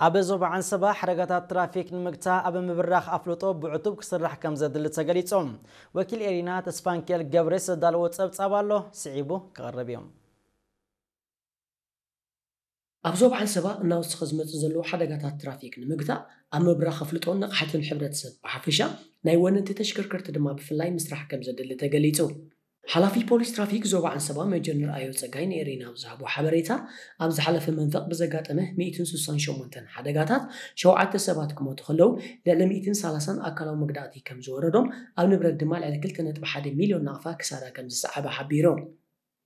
ኣብ ዞባ ዓንሰባ ሓደጋታት ትራፊክ ንምግታእ ኣብ ምብራኽ ኣፍልጦ ብዕቱብ ክስራሕ ከም ዘድሊ ተገሊጹ። ወኪል ኤሪና ተስፋንኪኤል ገብሬስ ዘዳለዎ ጸብጻብ ኣሎ፣ ስዒቡ ክቐርብ እዩ። ኣብ ዞባ ዓንሰባ እናወሰኸ ዝመጽእ ዘሎ ሓደጋታት ትራፊክ ንምግታእ ኣብ ምብራኽ ኣፍልጦን ንቕሓትን ሕብረተሰብ ብሓፈሻ ናይ ወነንቲ ተሽከርከርቲ ድማ ብፍላይ ምስራሕ ከም ዘድሊ ተገሊጹ። ሓላፊ ፖሊስ ትራፊክ ዞባ ዓንሰባ ሜጀር ንርኣዮ ጸጋይ ንኤሪና ኣብ ዝሃቦ ሓበሬታ፣ ኣብ ዝሓለፈ መንፈቕ ብዘጋጠመ ሚእትን ስሳን ሸሞንተን ሓደጋታት ሸውዓተ ሰባት ክሞቱ ከለዉ፣ ልዕሊ ሚእትን ሰላሳን ኣካላዊ መግዳእቲ ከም ዝወረዶም፣ ኣብ ንብረት ድማ ልዕሊ ክልተ ነጥቢ ሓደ ሚልዮን ናቕፋ ክሳራ ከም ዝሰዓበ ሓቢሩ።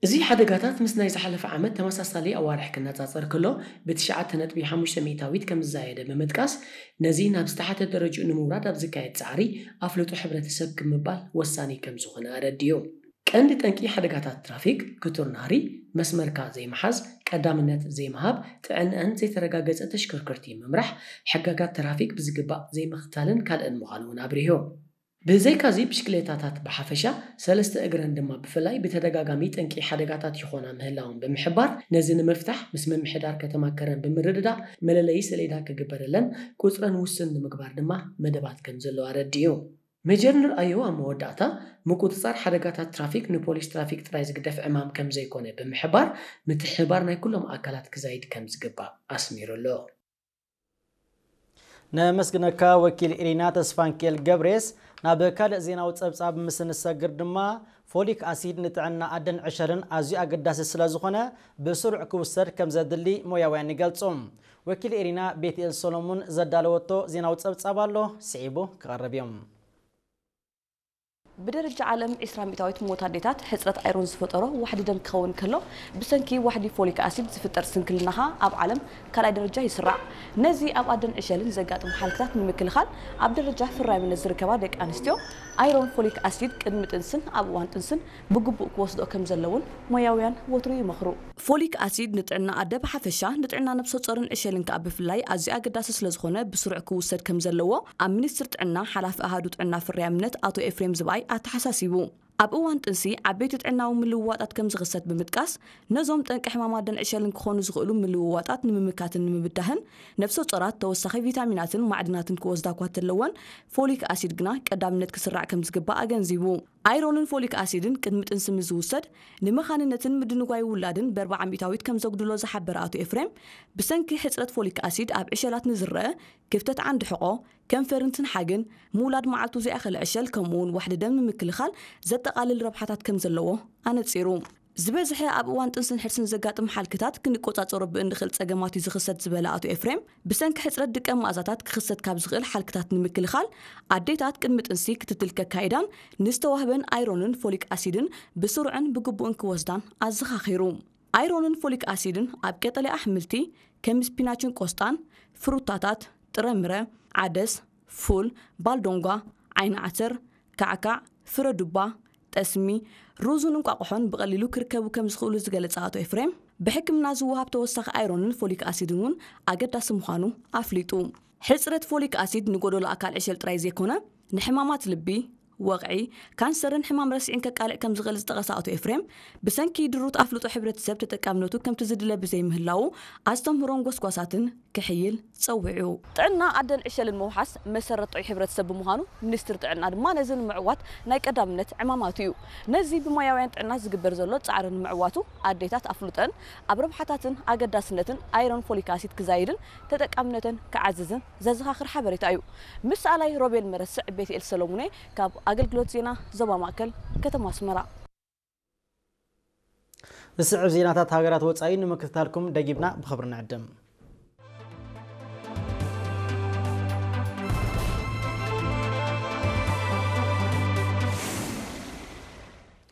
እዚ ሓደጋታት ምስ ናይ ዝሓለፈ ዓመት ተመሳሳሊ ኣዋርሕ ክነጻጸር ከሎ፣ ብትሽዓተ ነጥቢ ሓሙሽተ ሚእታዊት ከም ዝዛየደ ብምጥቃስ፣ ነዚ ናብ ዝተሓተ ደረጅኡ ንምውራድ ኣብ ዝካየድ ጻዕሪ ኣፍልጦ ሕብረተሰብ ክምባል ወሳኒ ከም ዝኾነ ኣረዲኡ። ቀንዲ ጠንቂ ሓደጋታት ትራፊክ፣ ክቱር ናህሪ፣ መስመርካ ዘይምሓዝ፣ ቀዳምነት ዘይምሃብ፣ ጥዕንአን ዘይተረጋገጸ ተሽከርከርቲ ምምራሕ፣ ሕጋጋት ትራፊክ ብዝግባእ ዘይምኽታልን ካልእን ምዃኑ እውን ኣብሪሁ። ብዘይካዚ፣ ብሽክሌታታት ብሓፈሻ፣ ሰለስተ እግረን ድማ ብፍላይ ብተደጋጋሚ ጠንቂ ሓደጋታት ይኾና ምህላውን ብምሕባር፣ ነዚ ንምፍታሕ ምስ ምምሕዳር ከተማ ከረን ብምርድዳእ መለለዪ ሰሌዳ ክግበረለን፣ ቁጽረን ውሱን ንምግባር ድማ መደባት ከም ዘሎ ኣረዲኡ። ሜጀር ንርኣዮ ኣብ መወዳእታ፣ ምቁጽጻር ሓደጋታት ትራፊክ ንፖሊስ ትራፊክ ጥራይ ዝግደፍ ዕማም ከም ዘይኮነ ብምሕባር፣ ምትሕብባር ናይ ኩሎም ኣካላት ክዛይድ ከም ዝግባእ ኣስሚሩ ኣሎ። ነመስግነካ ወኪል ኢሪና ተስፋንኪኤል ገብሬስ። ናብ ካልእ ዜናዊ ጸብጻብ ምስ ንሰግር ድማ፣ ፎሊክ ኣሲድ ንጥዕና ኣደን ዕሸልን ኣዝዩ ኣገዳሲ ስለ ዝኾነ፣ ብስሩዕ ክውሰድ ከም ዘድሊ ሞያውያን ይገልጹ። ወኪል ኢሪና ቤትኤል ሰሎሙን ዘዳለወቶ ዜናዊ ጸብጻብ ኣሎ፣ ስዒቡ ክቐርብ እዮም። ብደረጃ ዓለም ዒስራ ሚእታዊት ሞት ኣዴታት ሕጽረት ኣይሮን ዝፈጠሮ ዋሕዲ ደም ክኸውን ከሎ፣ ብሰንኪ ዋሕዲ ፎሊክ ኣሲድ ዝፍጠር ስንክልና ኸኣ ኣብ ዓለም ካልኣይ ደረጃ ይስራዕ። ነዚ ኣብ ኣደን ዕሸልን ዘጋጥም ሓልክታት ንምክልኻል፣ ኣብ ደረጃ ፍራይምነት ዝርከባ ደቂ ኣንስትዮ ኣይሮን ፎሊክ ኣሲድ ቅድሚ ጥንስን ኣብ እዋን ጥንስን ብግቡእ ክወስድኦ ከም ዘለውን ሞያውያን ወትሩ ይመኽሩ። ፎሊክ ኣሲድ ንጥዕና ኣደ ብሓፈሻ፣ ንጥዕና ነብሰ ጾርን ዕሸልን ከኣ ብፍላይ ኣዝዩ ኣገዳሲ ስለ ዝኾነ ብስሩዕ ክውሰድ ከም ዘለዎ ኣብ ሚኒስትሪ ጥዕና ሓላፊ ኣሃዱ ጥዕና ፍርያምነት ኣቶ ኤፍሬም ዝብኣይ ኣተሓሳሲቡ። ኣብ እዋን ጥንሲ ዓበይቲ ጥዕናዊ ምልውዋጣት ከም ዝኽሰት ብምጥቃስ፣ ነዞም ጠንቂ ሕማም ኣደን ዕሸልን ክኾኑ ዝኽእሉ ምልውዋጣት ንምምካትን ንምብዳህን፣ ነብሰ ጾራት ተወሳኺ ቪታሚናትን ማዕድናትን ክወስዳ እኳ እንተለወን፣ ፎሊክ ኣሲድ ግና ቀዳምነት ክስራዕ ከም ዝግባእ ኣገንዚቡ። ኣይሮንን ፎሊክ ኣሲድን ቅድሚ ጥንሲ ምስ ዝውሰድ፣ ንመኻንነትን ምድንጓይ ውላድን በርብዓ ሚእታዊት ከም ዘጉድሎ ዝሓበረ ኣቶ ኤፍሬም፣ ብሰንኪ ሕጽረት ፎሊክ ኣሲድ ኣብ ዕሸላት ንዝረአ ክፍተት ዓንዲ ሕቖ፣ ከንፈርን ትንሓግን፣ ምውላድ መዓልቱ ዘይኣኸለ ዕሸል፣ ከምኡ'ውን ዋሕዲ ደም ንምክልኻል ዘጠቓልል ረብሓታት ከም ዘለዎ ኣነጺሩ። ዝበዝሐ ኣብ እዋን ጥንስን ሕርስን ዘጋጥም ሓልክታት ክንቆጻጸሮ ብእንኽእል ጸገማት እዩ ዝኽሰት ዝበለ ኣቶ ኤፍሬም፣ ብሰንኪ ሕጽረት ድቀ መኣዛታት ክኽሰት ካብ ዝኽእል ሓልክታት ንምክልኻል፣ ኣዴታት ቅድሚ ጥንሲ ክትትል ከካይዳን ንዝተዋህበን ኣይሮንን ፎሊክ ኣሲድን ብስሩዕን ብግቡእን ክወስዳን ኣዘኻኺሩ። ኣይሮንን ፎሊክ ኣሲድን ኣብ ቀጠልያ ኣሕምልቲ ከም ስፒናችን ቆስጣን፣ ፍሩታታት፣ ጥረምረ፣ ዓደስ፣ ፉል፣ ባልዶንጓ፣ ዓይኒ ዓተር፣ ካዕካዕ፣ ፍረ ዱባ፣ ጠስሚ፣ ሩዝን እንቋቑሖን ብቐሊሉ ክርከቡ ከም ዝኽእሉ ዝገለጸ ኣቶ ኤፍሬም፣ ብሕክምና ዝወሃብ ተወሳኺ ኣይሮንን ፎሊክ ኣሲድን እውን ኣገዳሲ ምዃኑ ኣፍሊጡ። ሕጽረት ፎሊክ ኣሲድ ንጎደሎ ኣካል ዕሸል ጥራይ ዘይኮነ፣ ንሕማማት ልቢ፣ ወቕዒ፣ ካንሰርን ሕማም ረስዒን ከቃልዕ ከም ዝኽእል ዝጠቐሰ ኣቶ ኤፍሬም፣ ብሰንኪ ድሩት ኣፍልጦ ሕብረተሰብ ተጠቃምነቱ ከምቲ ዝድለ ብዘይምህላዉ፣ ኣስተምህሮን ጎስጓሳትን ክሕይል ጸዊዑ። ጥዕና ኣደን ዕሸልን ምውሓስ መሰረት ጥዑይ ሕብረተሰብ ብምዃኑ፣ ሚኒስትሪ ጥዕና ድማ ነዚ ንምዕዋት ናይ ቀዳምነት ዕማማቱ እዩ። ነዚ ብሞያውያን ጥዕና ዝግበር ዘሎ ጻዕሪ ንምዕዋቱ፣ ኣዴታት ኣፍልጦን ኣብ ረብሓታትን ኣገዳስነትን ኣይሮን ፎሊክ ኣሲድ ክዛይድን ተጠቃምነተን ክዓዝዝን ዘዘኻኽር ሓበሬታ እዩ። ምስ ኣላይ ሮቤል መረስዕ፣ ቤትኤል ሰሎሙኔ ካብ ኣገልግሎት ዜና ዞባ ማእከል፣ ከተማ ኣስመራ። ዝስዕብ ዜናታት ሃገራት ወጻኢ ንምክትታልኩም ደጊምና ብኽብሪ ንዕድም።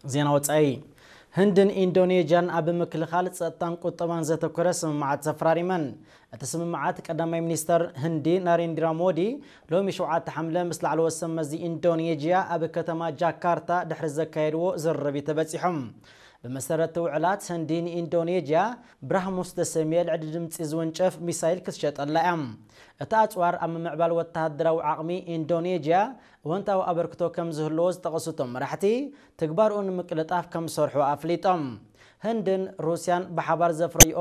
ዜና ወጻኢ። ህንድን ኢንዶኔዥያን ኣብ ምክልኻል፣ ጸጥታን ቁጠባን ዘተኮረ ስምምዓት ተፈራሪመን። እቲ ስምምዓት፣ ቀዳማይ ሚኒስተር ህንዲ ናሬንድራ ሞዲ ሎሚ ሸውዓተ ሓምለ ምስ ላዕለዎት ሰብ መዚ ኢንዶኔዥያ ኣብ ከተማ ጃካርታ ድሕሪ ዘካየድዎ ዝርርብ እዩ ተበጺሖም። ብመሰረት ውዕላት፣ ህንዲ ንኢንዶኔዥያ ብራህሙስ ዝተሰምየ ልዕሊ ድምጺ ዝውንጨፍ ሚሳይል ክትሸጠላ እያ። እቲ ኣጽዋር ኣብ ምምዕባል ወተሃደራዊ ዓቕሚ ኢንዶኔዥያ እወንታዊ ኣበርክቶ ከም ዝህልዎ ዝጠቐሱ እቶም መራሕቲ፣ ትግባርኡ ንምቅልጣፍ ከም ዝሰርሑ ኣፍሊጦም። ህንድን ሩስያን ብሓባር ዘፍረይኦ